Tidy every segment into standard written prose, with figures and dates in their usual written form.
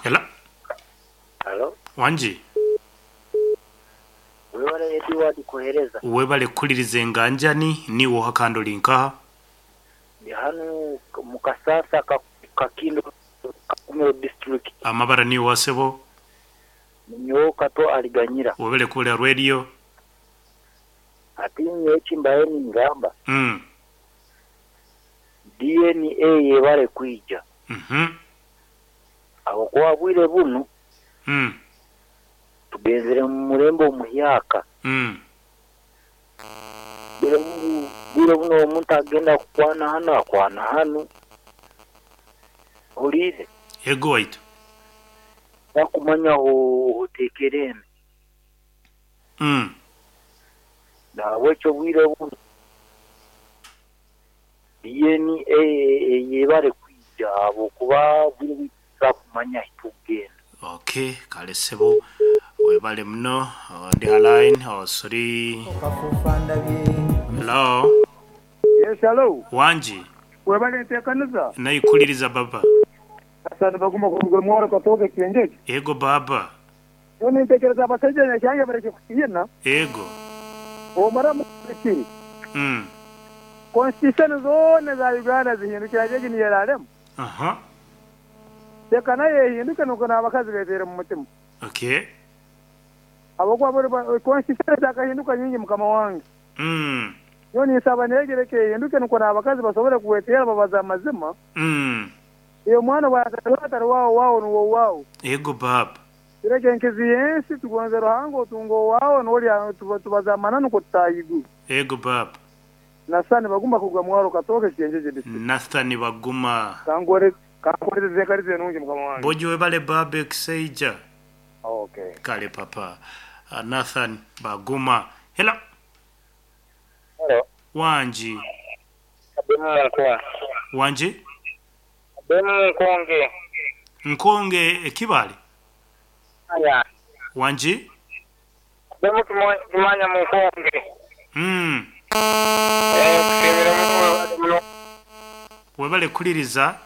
Hello. Halo. Wangi. Webale Edward kuhereza. Webale kuhuliriza enganjani, niiwe oha kandi ori nkaha? Ndi hanu mu kasasa Kakindo Kakumiro district. Amabara niiwe oha sebo? Ninyowe Kato Aliganyira. Webale kuhurira radio. Hati nyowe eki mbaire ningamba, DNA yebare kwija ahabw'okuba obwire bunu tugenzire omu murembe omuhyaka. Obwire bunu omuntu agenda kukwana hanu akwana hanu. Ohuriire? Ego waitu. Takumanya otekere ente. Nahabwekyo obwire bunu DNA eyebare kwija ahabwokuba obwire bwaitu titusobora kumanya ahi tukugenda. Ok kale sebo webale muno ndi ha line osuri Hello. Yes hallo. Wangi. Webale entekaniza. Naikuliriza baba. Hassan Baguma kuruga Mwaro Katooke Kyengyegye. Ego baba. Nyowe nintekereza abasaija Nyakyangye barekye kutiina. Ego. Omara kiri. Constitution zoona eza Uganda zihindukire hati egi niyo erarema. Aha. Reka nayo ehinduke nukwo n'abakazi beteere omu mutima. Okay. Ahabw'okuba buri constitution zakahinduka nyingi mukama wange. Nyowe ninsaba n'egi reka ehinduke nukwo n'abakazi basobole kweteera babaze amazima. Iwe omwana obwatari atari waawe, owaawe nuwe owaawe. Ego baaba. Tureke enkizi y'ensi tugonze Ruhanga otunge owaawe n'ori tubaze amananu nukwo tutaaha iguru. Ego baaba. Nathan Baguma kuruga Mwaro Katooke Kyengyegye District. Nathan Baguma. Kankuwereze enkariza enungi mukama wange. Bojo webale baaba ekisaija. Okay. Kale papa. Nathan Baguma. Hello. Hello. Wangi. Abemu Nkonge. Wangi? Abemu Nkonge. Nkonge e Kibale? Aya. Wangi? Abemu Kimanya mu Nkonge. Mm. Eh, kusiimira muno webale muno. Webale kuhuliriza.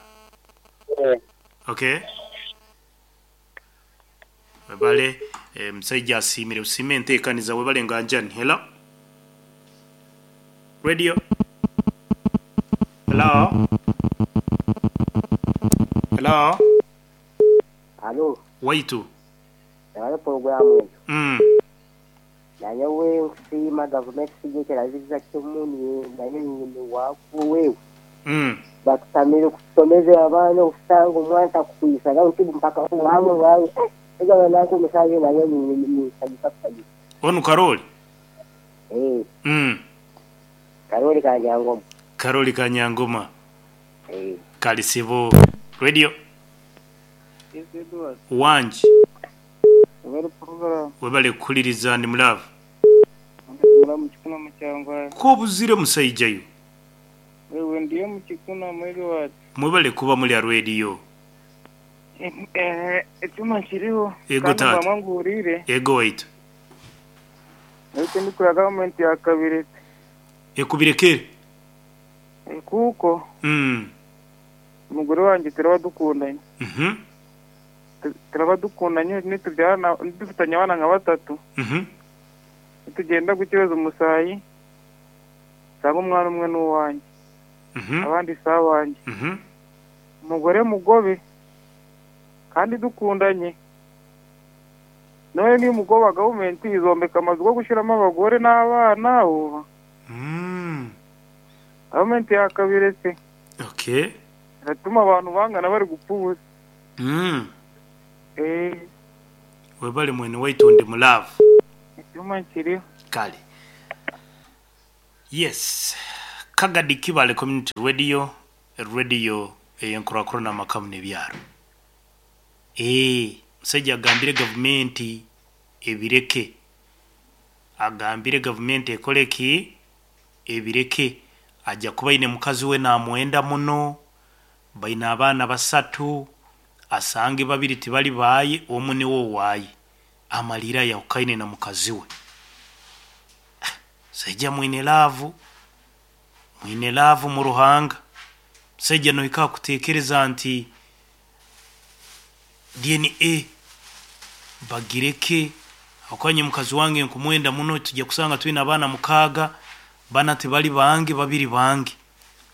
Eh. Okay. Webale eh, musaija asiimire busiime enteekaniza webale nganjani. Hello. Radio. Hello. Hello. Halo. Waitu. Webale puroguramu egyo. Nanyowe nkusiima gavumenti kusigikira kimu nayo nyine waaku wewe. Batutamire kutusomeza abaana okusanga omwana takukwisa nti mpaka wawe wawe. Egaba nanku omusaayi nayo ninsanyuka kusanyuka. Onu Karoli? Eh. Karoli Kanyangoma. Karoli Kanyangoma. Eh. Kale sebo. Radio. Yes, Edward. Wangi. Webale program. Webale kuhuliriza ndi mulaavu. Mulamu kikuna mukyangwari. K'obuzire musaija iwe. Wewe ndiyo mukikuna mu Edward. Mwebale kuba muri aha radio. Ekyoma kiriho. Ego Kandi taata. mbamwe nguhuriire. Ego waitu. Naitwe ndikura gavumenti ya Kabirete. Ekubirekere. Kuko. Omugore wangye turaba dukundanye. Turaba dukundanye nitubyarana dufitanye abaana nka batatu. Nitugyenda kukyebeza omusaayi nsanga omwana omwe n'owangye. Abandi si abangye. Omugore mugobe kandi dukundanye. None nimugoba gavumenti izombeka amazu g'ogushiramu abagore n'abaana oba. Gavumenti yakabiretse. Okay. Eratuma abantu bangana bari gupfa ubusa. Eh. Webale mwene waitu ndi mu love. Ekyoma kiriho. Kale. Yes. Kagadi Kibale Community Radio, radio ey'enkurakurana amaka n'ebyaro. Eeh, omusaija agambire gavumenti ebireke. Agambire gavumenti ekore ki? Ebireke. Aja kuba aine mukazi we naamwenda muno, baine abaana basatu, asange babiri tibari baaye, omwe niwe owaaye. Amariire ayahukaine na mukazi we. Musaija mwine laavu, mwine laavu mu Ruhanga. Omusaija nohika aha kuteekereza nti DNA bagireke ahabw'okuba nyowe mukazi wange nkumwenda muno tujya kusanga twine abaana mukaaga bana tibari bange babiri bange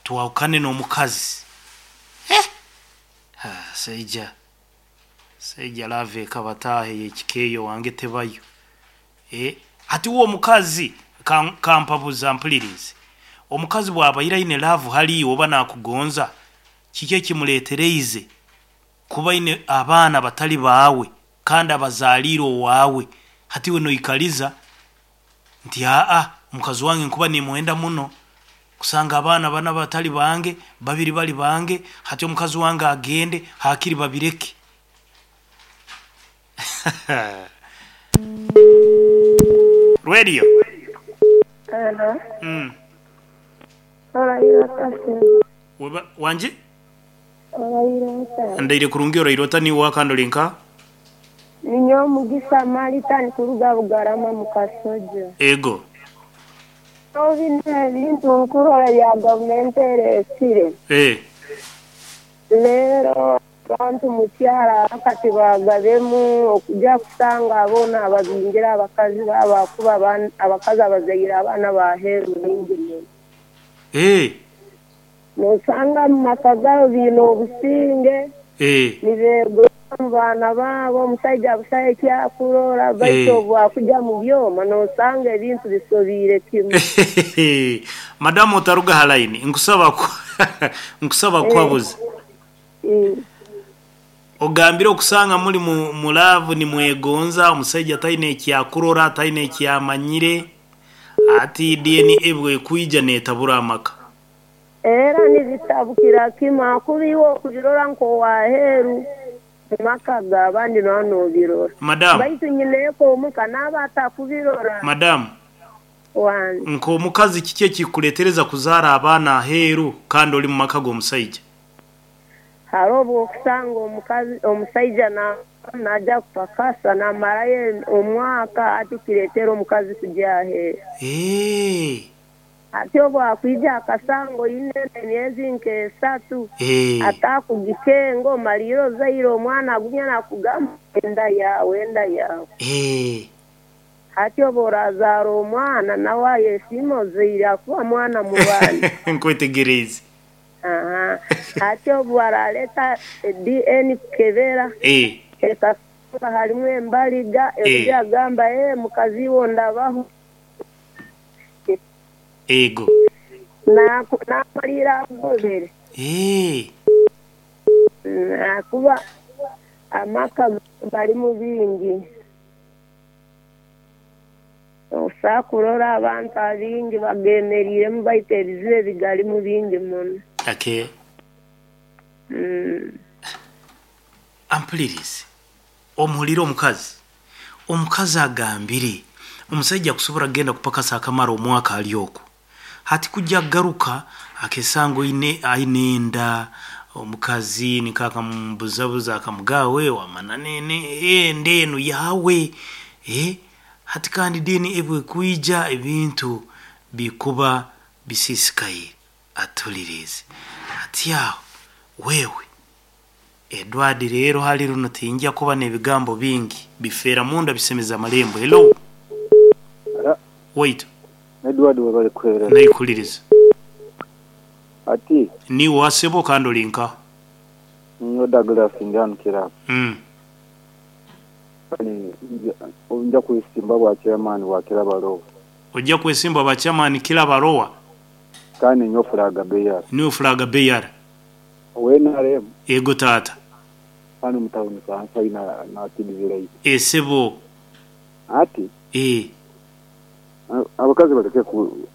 twahukane n'omukazi eh saija saija love ekabataaha ey'ekika eyo owange tebayo eh hati we omukazi kampabuza mpulirize omukazi bw'abaire aine love hali iwe oba nakugonza kiki ekimuretereize kuba aine abaana batari baawe kandi abazaariire owaawe hati iwe noikariza nti aa mukazi wange nkuba nimwenda muno kusanga abaana bana batari bange babiri bari bange hati omukazi wange agende hakiri babireke. Radio. Hello. Oraire ota sebo? Weba, wangi? Oraire ota? Ndaire kurungi oraire ota niiwe owa kandi ori nka? Ninyowe Mugisa Marita ndikuruga Bugarama mu Kasojo. Ego. Nyowe binu ebintu nkurora ebya gavumenti eresire. Eh. Reero abantu mu kyaro abakati baagabemu okugya kusanga boona ababingire abakazi baabo ahakuba abakazi abazaire abaana b'aheeru baingi muno. Eh. Noosanga omu maka gaabo baine obusinge, Eh. nibeegoza omu baana baabo, omusaija busaho eki akurora baitu Eh. obu akugya mu byoma noosanga ebintu bisobiire kimwe. Madamu otaruga ha layini, nkusaba nkusaba kukuhabuza. Ogambire okusanga muri mu laavu nimwegonza, omusaija taine eki akurora, taine eki amanyire, hati DNA bwekwija netabura amaka. Era nibitabukira kimwe ahakuba iwe okubirora nk'ow'aheeru mu maka g'abandi nooba noobirora. Madamu. Baitu nyineeka omuka naaba atakubirora. Madamu. Wange. Nk'omukazi kiki ekikuleetereza kuzaara abaana aheeru kandi ori mu maka g'omusaija? Hariho obu okusanga omukazi omusaija naija kupakasa namarayo omwaka hati kireetera omukazi kugya aheeru. Eeh. Hati obu akwija akasanga oine emyezi nk'esatu Eeh. atakugikenga omaliire ozaire omwana agumya nakugamba enda yaawe enda yaawe. Eeh. Hati obu orazaara omwana nawe ayesiima ozaire ahakuba mwana mubandi. Nkwetegereize. Aha. Hati obu araleta DN kukebera Eh. ekasanga harimu embaliga Eh. eruga agamba ee mukazi iwe ondabaho. Ego. Naku namaliira agobere. Eh. Ahakuba amaka garimu bingi. Osobola kurora abantu abaingi bagemereiremu baitu ebizibu ebigarimu bingi muno. Okay. Ampulirize. Omuhurire omukazi. Omukazi agambire omusaija kusobora kugenda kupakasa akamara omwaka ali okwo. Hati kujja kugaruka akesanga oine aine enda omukazi nikwo akamubuzabuza akamugamba we wamanya enda enu yaawe eh Hati kandi DNA bwekwija ebintu bikuba bisisikaire. Atulirize ati aho wewe Edward rero hali runo tinja kuba nebigambo bingi bifera munda bisemeza amalembo. Hello. Ara. Waitu. Edward webale kuhereza. Naikuliriza. Ati. Niiwe oha sebo kandi ori nkaha? Ninyowe Douglas ndi hanu Kirabo. Kale nja kwesimba bwa chairman bwa Kirabo Lower. Oja kwesimba bwa chairman Kirabo Lower? Kandi ninyowe flag bearer. Niiwe flag bearer. Owa nrm. Ego taata. Hanu omu tawuni kanso ahi na Kids Right. Esebo. Ati. Eeh. Abakazi baleke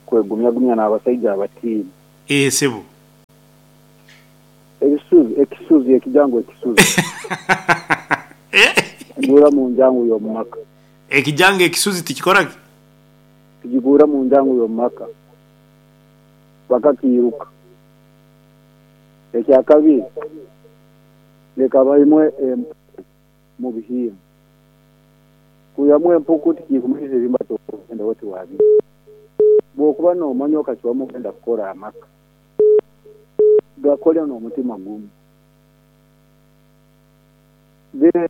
kwegumyagumya n'abasaija abatiini. Eeh sebo. Ebisuzi, ekisuzi, ekijangu ekisuzi. Tikiguura mu njangu y'omu maka. Ekijangu ekisuzi tikikora ki? Tikiguura mu njangu y'omu maka. Bakakiiruka. Ekyakabiri, leka baimwe empuku mu bihimba. Kwihamu empuku tikikumanyisa ebihimba tokugenda oti wabiiha. Bw'okuba noomanya okacwamu kwenda kukora amaka, gakole n'omutima gumu. Then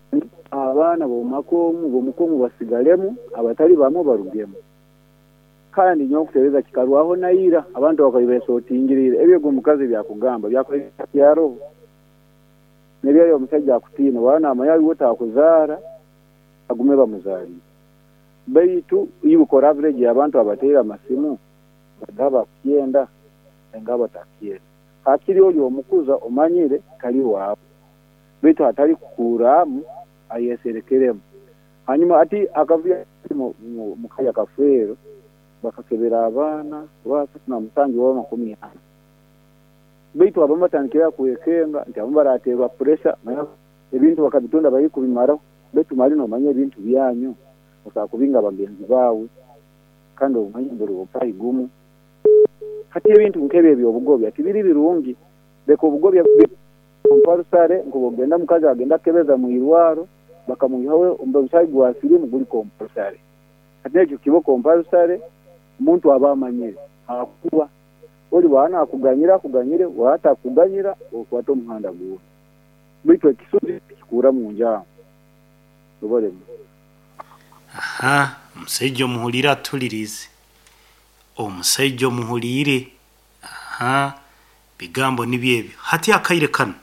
abaana b'omumaka omu b'omuka omu basigaremu abatari bamwe barugemu. Kandi nyowe okutereeza kikarwaho na ira abantu bakabaire besotingiriire ebi ogu omukazi ebi akugamba byakubaire bitakyaaroho. N'ebi omusaija akutiina waaba naamanya iwe otakuzaara agume bamuzaarire. Baitu iwe kora average y'abantu abateire amasimu bari abakukyenda ninga abatakukyenda. Hakiri ori omukuza omanyire tari waawe baitu hatari kukuuraamu ayeserekeremu. Hanyuma hati akavuyo omu ka ya Kafeero bakakebera abaana oba asatu na musanju oba makumi ana. Baitu abamu batandikire aha kwekenga nti abamu barateerwa puresha manya ebintu bakabitunda barikubimaraho baitu mali nomanya ebintu byanyu osobola kubinga bagenzi baawe kandi omanye buri omusaayi gumu. Hati ebintu nk'ebyo eby'obugobya tibiri birungi. Leka obugobya bube komparusare nk'obwogenda omukazi agenda kukebeza mu irwaro bakamwihaho omusaayi gwa siriimu guri komparusare. Hati ekyo kibe komparusare omuntu aba amanyire ahakuba ori waaba naakuganyira akuganyire waaba atakukuganyira okwate omuhanda gundi. Baitu ekisuzi tikikuura mu njangu. Webale muno. Aha, omusaija omuhuliire atuhuliriize. Omusaija omuhuliire. Aha, bigambo nibyo ebyo. Hati akaire kanu,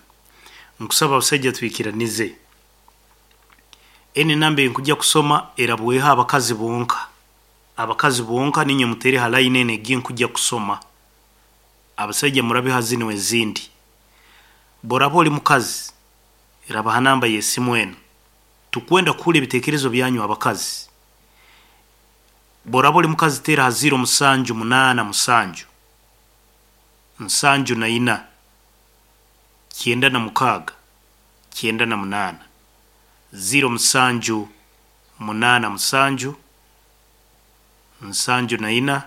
nkusaba abasaija twikiranize. Enu enamba eyinkugya kusoma erabweho abakazi bonka. Abakazi bonka niinywe muteere ha line enu egi nkugya kusoma. Abasaija murabe ha zinu ezindi. Bworaba oli mukazi, raba ha namba y'esimu enu. Tukwenda kuhurra ebitekerezo byanyu abakazi. Bworaba oli mukazi teera ha ziiro musanju munaana musanju, nsanju na ina, kyenda na mukaaga, kyenda na munaana. Ziiro musanju munaana musanju, nsanju na ina,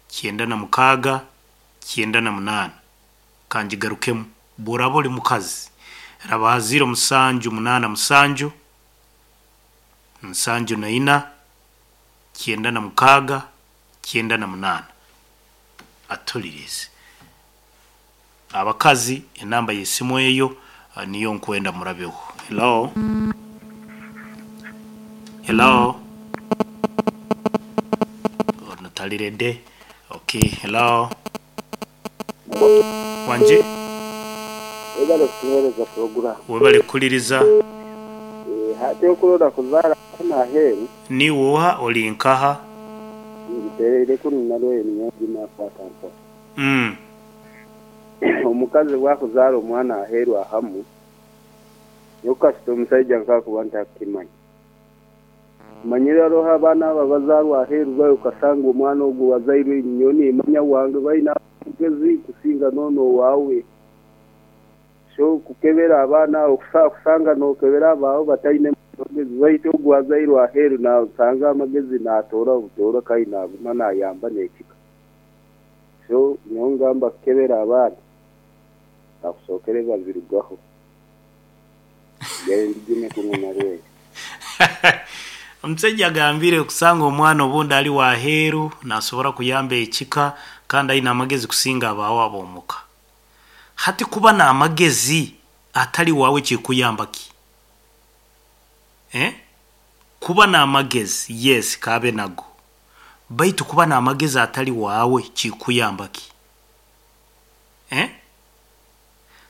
kyenda na mukaaga, kyenda na munaana. Kangigarukemu, bworaba oli mukazi, raba ha ziiro musanju munaana musanju, nsanju na ina, kyenda na mukaaga, kyenda na munaana. Atuhuliriize. Abakazi enamba y'esimu eyo niyo nkwenda murabeho. Hello? Hello? Ono tali ready. Okay, hello? Wangi? Webale kutuhereza puroguramu. Webale kuhuliriza. Hati okurora kuzaara kunu aheeru. Niiwe oha? Ori nkaha? Ngitereire kunu Nalweyo niyo ndi nakwata mpora. Omukazi bwakuzaara omwana aheeru ahamu, nyowe kasita omusaija nkakuba ntakukimanya. Omanyire haroho abaana abo abazaarwa aheeru bayo okasanga omwana ogwo owazairwe nyowe nimanya wange baine amagezi kusinga n'onu owaawe. So kukebera abaana abo kusobola kusanga nokebera abaawe bataine magezi baitu ogu azairwe aheeru nosanga amagezi natoora butoora kandi naguma nayamba n'ekika. So nyowe ngamba kukebera abaana bakusookere babirugaho. Nsigare ndigime kunu narweyo. Omusaija agambire kusanga omwana obundi ali waheeru nasobora kuyamba ekika kandi aine amagezi kusinga abaawe ab'omuka. Hati kuba n'amagezi atali waawe kikuyamba ki? Eh? Kuba n'amagezi yes kaabe nago baitu kuba n'amagezi atali waawe kikuyamba ki? Eh?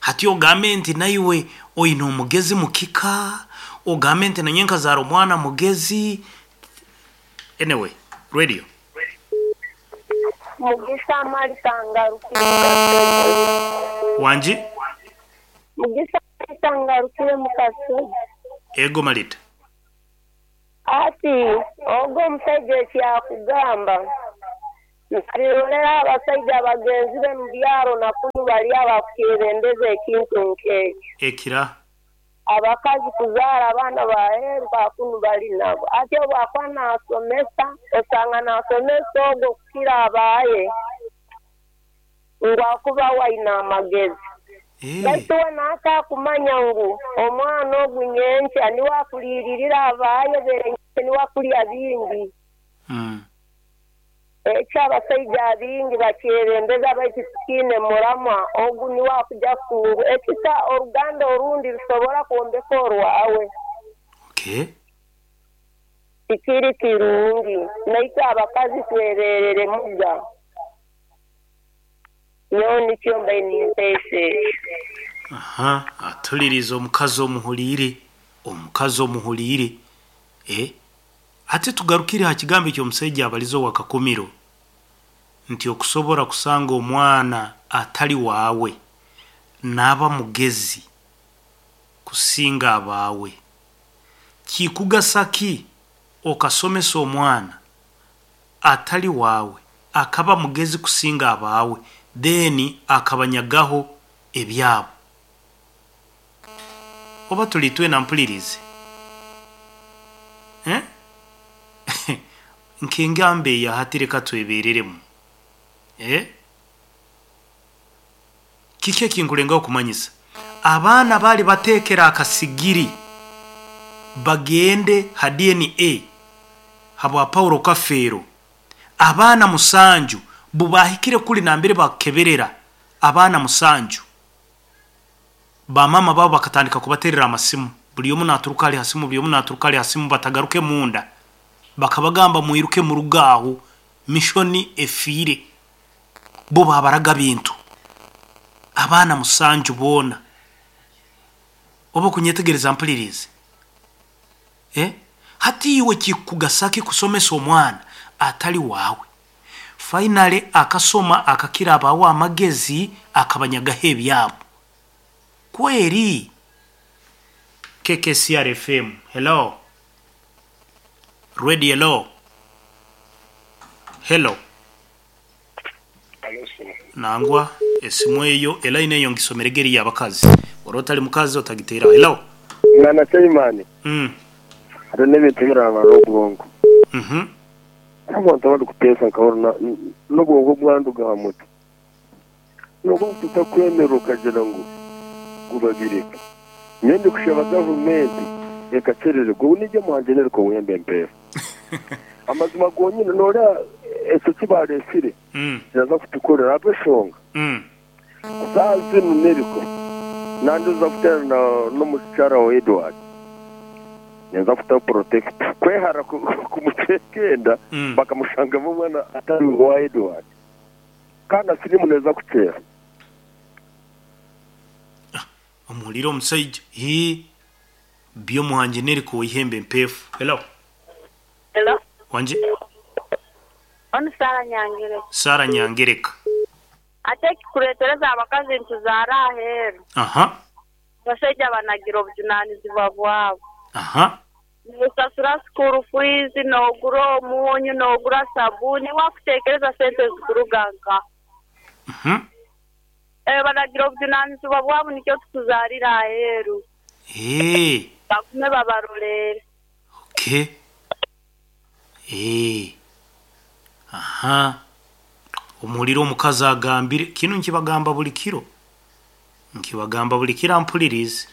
Hati ogambe nti naiwe oine omugezi mu kika, ogambe nti nanye nkazaara omwana mugezi. Anyway, radio. Mugisa Martha ngarukire mu Kasozi. Wangi? Mugisa Martha ngarukire mu Kasozi. Ego Marita. Ati, Ogu omusaija eki akugamba, nabirorera ha basaija bagenzi be mu byaro na kunu bali abakukyebembeza ekintu nk'ekyo. Ekira. Abakazi kuzaara abaana b'aheeru ba kunu bali nabo. Ati obu akuba naasomesa, osanga naasomesa ogu okukira abaaye ngu akuba we aine amagezi. Baitu we naataakumanya ngu omwana ogu nyenkya niwe akuliiririra abaaye benyini, niwe akulya bingi. Ekyo abasaija abaingi bakyebembeza baitu tikiine muramwa. Ogu niwe akuja kutunga ekisa oruganda orundi rusobora kwombeka orwawe. Okay. Tikiri kirungi. Naitwe abakazi twebereremuga. Nyowe nikyo mbaire ninteesa ekyo. Aha, atulirize omukazi omuhuliire, omukazi omuhuliire. Eh, hati tugarukire ha kigambo eky'omusaija abalize owa Kakumiro nti okusobora kusanga omwana atali waawe naaba mugezi kusinga abaawe. Kikugasa ki okasomesa omwana atali waawe akaba mugezi kusinga abaawe then akabanyagaho ebyabo? Oba tuli twena mpulirize eh Nk'engamba eya hati leka twebereremu eh Kiki ekinkulengaho kumanyisa? Abaana baali bateekera akasigiri bagende ha DNA habwa Paulo Kafeero. Abaana musanju bubaahikire kuli nambere bakukeberera abaana musanju, bamaama baabo bakatandika kubaterera amasimu, buli omu naturuka ali ha simu, buli omu naturuka ali ha simu batagaruke munda. Bakabagamba mwiruke muruge aho, mishoni efiire. Bo baabaraga bintu. Abaana musanju boona. Oba okunyetegereza mpuliriize? Eh? Hati iwe kikukugasa ki kusomesa omwana atali waawe? Finally akasoma akakira abaawe amagezi akabanyagaho ebyabo. Kweri? KKCR FM, hello. Radio hello. Hello. Nangwa esimu eyo elaini eyo ngisomerege eri yabakazi ora otali mukazi otagiteraho. Hello. Mwana Chaimani, hariho n'ebintu ebirabara obwongo. Abantu abari kuteesa nkahurira n'obwongo bwanduga aha mutwe. N'obwongo tutakwemera okagira ngu gubabireka. Nyowe ndikushaba gavumenti ekakyerererwa obu nigye muhangi Neriko Wembe Mpeera. Amazima gonyine noreeba ekyo eki baresire kiraza kutukorera ahabw'eshonga saaha zinu Neriko nandiza kuteerana n'omukyara wa Edward ninza kutaho protector kwehara kumuteeka enda bakamushangamu omwana atari owa Edward kandi na siriimu neeza kukyera. Omuhurire omusaija hii Byomuhangi Neriko ow'eihembe empeefu. Hello. Hello. Wangi. Onu Sarah Nyangereka. Sarah Nyangereka. Ate ekikuretereza abakazi nituzaara aheeru. Aha. Abasaija banagira obujunanizibwa bwabo. Aha. Nosasura school fees, nogura omunyu, nogura sabuni, wakutekereza sente zikuruga nkaha? Mhm. Eeh banagira obujunanizibwa bwabo nikyo tukuzarira aheeru. Eeh. Bagume babaroleere. Okay. Eeh. Aha. Omuhurire omukazi agambire, kinu nkibagamba buli kiro. Nkibagamba buli kiro ampuliriize.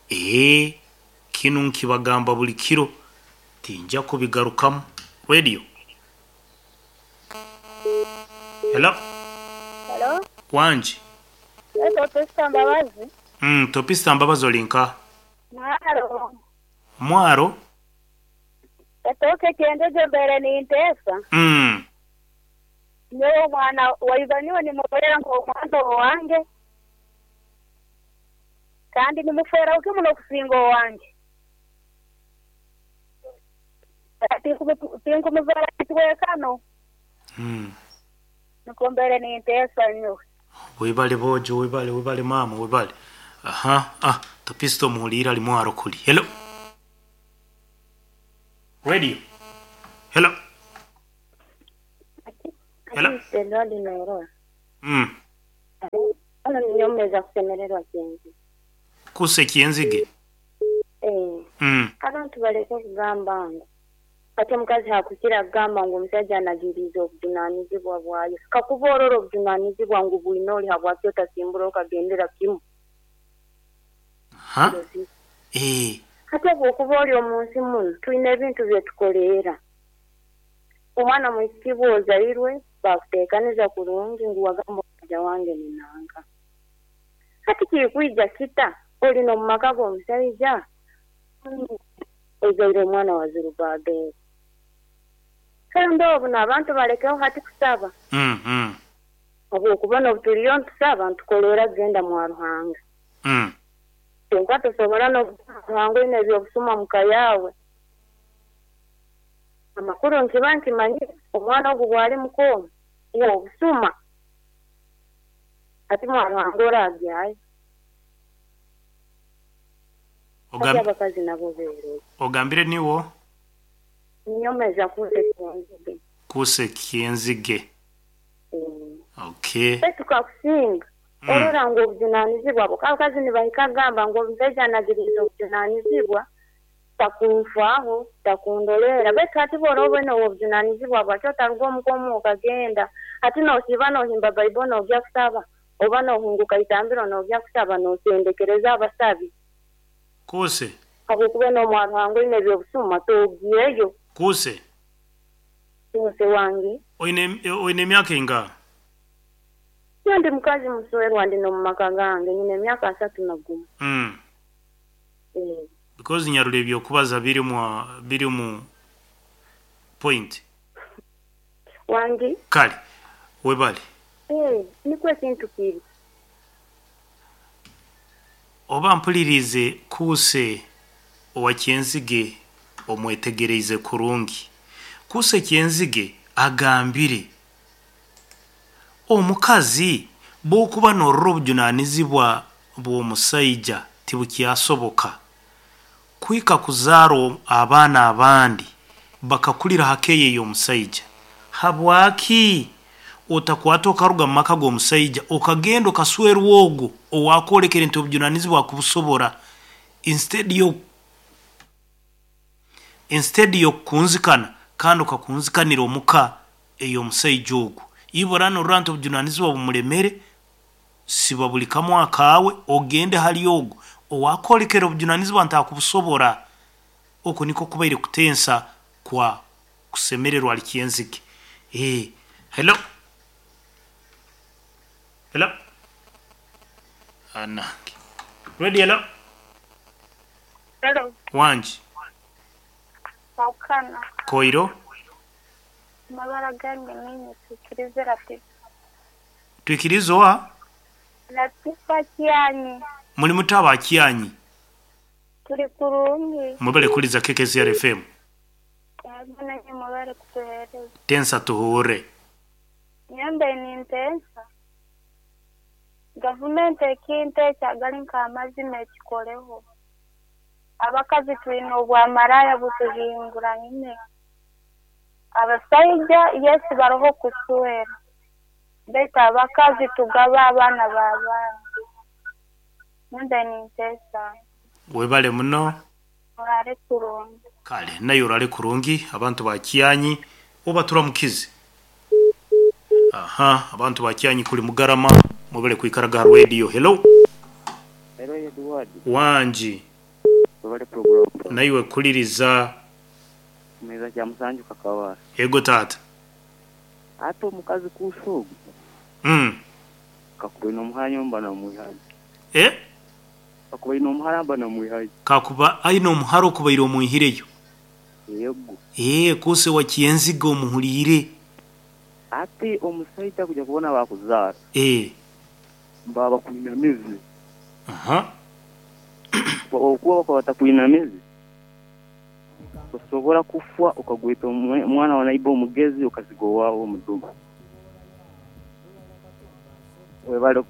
Eeh. Kinu nkibagamba buli kiro. Tinja kubigarukamu. Radio. Hello. Hello. Wangi. Topista Mbabazi. Topista Mbabazi oli nkaha? Mwaro. Mwaro? Etooke kyendejo mbaire ninteesa. Nyowe omwana wa iba nyowe nimurora nk'omwana owange kandi nimufeeraho kimu n'okusinga owange. Tinkumuzaara kitwekano. Nikwo mbaire ninteesa nyowe. Webale boojo webale webale maama webale aha ah Topista omuhuliire ali mwaro kuli hello Radio hello hello Kusa ekyenzige. Abantu baleke okugamba ngu hati omukazi hakukira kugamba ngu omusaija anagiriize obujunanizibwa bwayo. Kakuba orora obujunanizibwa ngu bwine ori habwaki otasimbura okagendera kimu? Hati obwokuba ori omu nsi munu twine ebintu byetukoleera. Omwana mwisiki bw'ozairwe bakuteekaniza kurungi ngu wagamba omusaija wange ni nanka. Hati kirikwija kita ori n'omu maka g'omusaija ozaire omwana wa Zerubbabeli? Kandi obu n'abantu balekeho hati kusaba. Habw'okuba n'obu turiyo nitusaba nitukoleera kugenda mwa Ruhanga. Kwonka tosobora n'okugenda mwa Ruhanga oine eby'obusuma omu ka yaawe. Amakuru nkiba nkimanyire, omwana ogu bw'ali muka omu, w'obusuma. Hati mwa Ruhanga oraagyayo. Hati abakazi nabo beerole. Ogambire niiwe? Ninyomeza kuusa eky'enzige. Kuusa eky'enzige. Okay. Baitu kakusinga orora ngu obujunanizibwa bwo, abakazi nibahika kugamba ngu omusaija anagiriize obujunanizibwa takunfaaho, takundoleera. Baitu hati bw'oraba oine ow'obujunanizibwa bwaki otaruga omuka omu okagenda? Hati nosiiba nohimba Baibo nogya kusaba oba nohunguka itambiro nogya kusaba nosendekereza abasabi? Kuuse. Habwokuba n'omwa Ruhanga oine eby'obusuma togiireyo. Kuuse. Kuuse wange. Oine oine emyaka eingaha? Nyowe ndi mukazi muswerwa ndi n'omu maka gange nyine emyaka asatu na gumu. Ee. Because nyarura ebyokubaza birimu birimu point. Wangi. Kale webale. Ee, nikwo ekintu kiri. Oba mpuliriize Kuuse owa Kyenzige omwetegereize kurungi. Kuuse Kyenzige agambire, Omukazi bwokuba norora obujunanizibwa bw'omusaija tibukyasoboka kuhika kuzaara abaana abandi bakakurira ha keeya ey'omusaija. Habwaki otakwata okaruga mu maka g'omusaija okagenda okaswerwa ogwo owaakwolekere nti obujunanizibwa akubusobora instead yo instead y'okukunzikana kandi okakunzikanira omu ka ey'omusaija ogwo. Ibura norora nti obujunanizibwa bumulemere, siba buli kamu akaawe ogende hali ogwo owaakwolekere obujunanizibwa nti akubusobora. Oku nikwo kubaire kutensa kwa kusemererwa ali kyenzige. Eeh. Hello. Hello. Anange. Ready hello. Hello. Wangi. Kwahukana. Koiro. Amabara gange ninye Twikirize Latifa. Twikirize oha? Latifa Kyanyi. Muli muta aba Kyanyi? Turi kurungi. Mwebale kuhuriza KKCR FM. Yego nanye mwebale kutuhereza. Tensa tuhuurre. Nyowe mbaire nintensa gavumenti ekintu eki agali nk'amazima ekikoleho. Abakazi twine obwamaraya butuhinguranyine. Abasaija yes baroho kuswera baitu abakazi tugaba abaana b'abandi. Nyowe mbaire ninteesa. Webale muno. Oraare kurungi. Kale naye oraare kurungi abantu ba Kyanyi oba turamukize. Aha abantu ba Kyanyi kuli Mugarama mwebale kwikaraga ha radio. Hello. Hello Edward. Wangi. Webale program. Naiwe kuliriza. Kumeza kya musanju kakabara. Ego taata. Ate omukazi kuusa ogwo. Kakuba aine omuhara nyowe mba namwihayo. Eh? Kakuba aine omuhara mba namwihayo. Kakuba aine omuhara okubaire omwihireyo. Yego. Eeh kuusa owa Kyenzige omuhuriire. Ate omusaija kuja kubona bakuzaara. Eeh. Baba bakwinamize. Aha. Okuba bakaba batakwinamize, osobora kufwa okagweta omwana wa naiba omugezi okaziga owaawe omudumu. Webale.